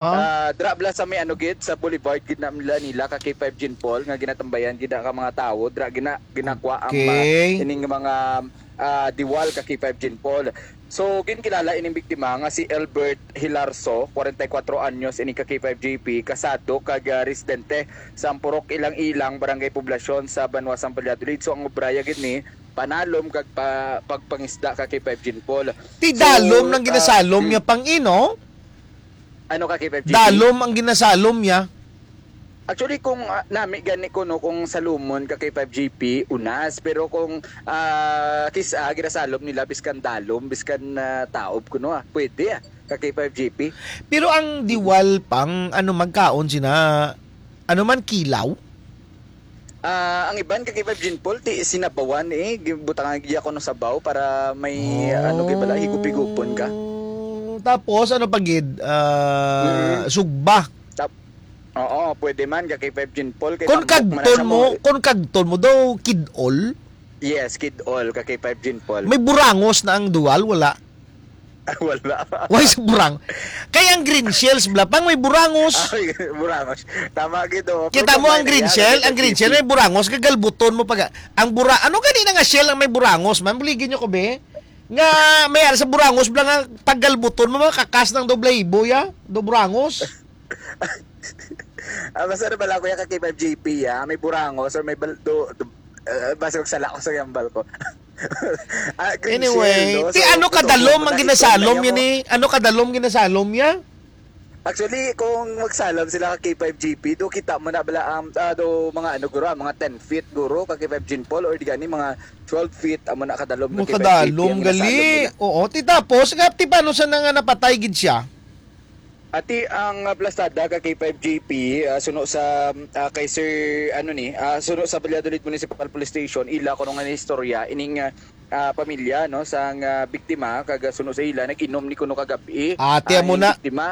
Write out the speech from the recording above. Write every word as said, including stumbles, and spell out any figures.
Ah, dra bala sa may ano gid, sa boulevard gid na nila, nila ka K five Jean Paul, nga ginatambayan gid na ka mga tawo, dra gina-, ginakwa ang, ah, Okay. ining mga, ah, diwal ka K five Jean Paul. So, ginkilala ining biktima nga si Elbert Hilarso, forty-four anyos, ini ka K five G P, kasado kag, ah, residente sa Purok Ilang-Ilang, Barangay Poblacion sa Banwa sang Valladolid. So, ang obraya gid ni panalom kag pa-, pagpangisda ka K five Jean Paul. Ti So, dalom nang ah, ginasalom mm. niya pang ino? Ano ka, K five G P? Dalom ang ginasalom niya. Actually, kung, ah, nami gani ko, no, kung salumon ka kay five G P, unas. Pero kung, ah, kis-, ah, ginasalom nila, biskan dalom, biskan, ah, taob ko, no, ah, pwede, ah, ka kay five G P. Pero ang diwal pang, ano, magkaon sina, ano man, kilaw? Ah, ang iban ka kay five Jean Paul, ti sinabawan, eh, gibutangan gid ako ng sabaw para may, ano, kay bala, higup-higupon ka. Oh. Tapos, ano pa gid? Ah, Mm. sugba. Tap-, oo, pwede man, ka kay five Jean Paul, kay Kung tambok man kagton sa mo, mga kung kagton mo daw, kid-ol? Yes, kid-ol, ka kay five Jean Paul. May burangos na ang dual, wala? Wala. Why sa burang? Kay ang green shells, bala, pang may burangos. Ay, burangos. Tama gid, oh. Kita Pero mo ang gamay na green iya, shell? Ang green shell, may burangos, kagalbuton mo pag, ang bura-, ano gani na nga shell ang may burangos, man? Buligin nyo ko, be? Nga, may ara sa burangos, bala nga, paggalbuton mo, makakas ng doble ibo, ya? Do burangos? Ah, basta na bala, kuya, ka K five G P, ah. May burangos or may bal-, do, do, ah, basta magsala ko sa gambal ko. Ah, green Anyway, shell, no? ti So, ano kadalom ang ginasalom yun eh? Ano kadalom ginasalom niya? Actually, kung magsalom sila ka K five G P, do kita mo na bala ang, ah, do mga ano, guro, ah, mga ten feet, guro, ka K five Jean Paul, or di gani, mga twelve feet, amo na kadalom ka Mo K five G P kadalom, ang ginasalom gali. nila. Oo, ti tapos, nga, ti paano sa nga napatay gid siya? Ati ang, ah, plastada ka K five G P, ah, suno sa, ah, kay Sir, ano ni, ah, suno sa Valladolid Municipal Police Station, ila ko nga istorya, ining, ah, ah, pamilya, no, sang, ah, biktima, kag, ah, suno sa ila, nag-inom ni kuno kagabi, Ate, ah, amo ining na. biktima.